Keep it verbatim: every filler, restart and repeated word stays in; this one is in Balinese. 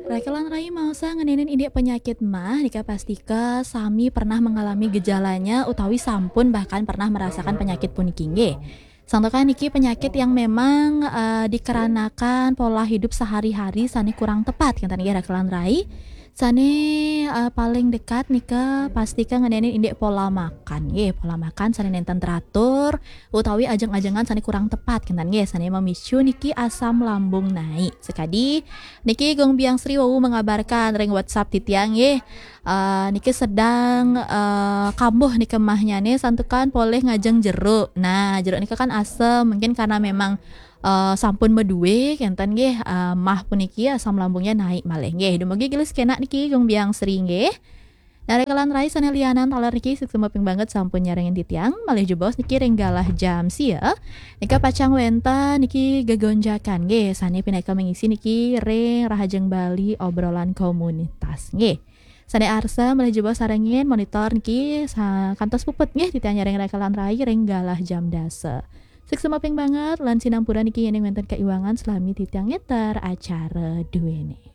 Rakelan rai maosa ngenénin indik penyakit mah, nika pastika sami pernah mengalami gejalanya utawi sampun bahkan pernah merasakan penyakit puniki nggih. Santukan niki penyakit yang memang eh, dikarenakan pola hidup sehari-hari sané kurang tepat, kénten nggih rakelan rai. Sané eh, paling dekat nika pastika ngenénin indik pola makan nggih, pola makan sané nénten teratur utawi ajeng-ajengan sané kurang tepat, kénten nggih, sané memicu niki asam lambung naik. Sekadi niki Gung Biang Sri wau mengabarkan ring WhatsApp titiang nggih. Eh, niki sedang eh, kambuh nika mahnyané santukan polih ngajeng jeruk. Nah, jeruk nika kan asem, mungkin karena memang eh, sampun madué kénten nggih eh, mah puniki asam lambungnya naik malih nggih. Dumugi gelis kénak niki Gung Biang Sri nggih. Nah, rakelan rai sané lianan taler niki suksma ping banget sampun nyarengin titiang, malih jebos niki ring galah jam sia. Nika pacang wénten niki gegonjakan nggih, sané pinaka mengisi niki ring Rahajeng Bali obrolan komunitas nggih. Sané arsa malih jebos sarengin monitor niki sa-, kantos puput nggih titiang nyarengin rakelan rai ring galah jam dasa. Suksma ping banget lan sinampura niki yéning wénten kaiwangan salami titiang ngeter acara duéné.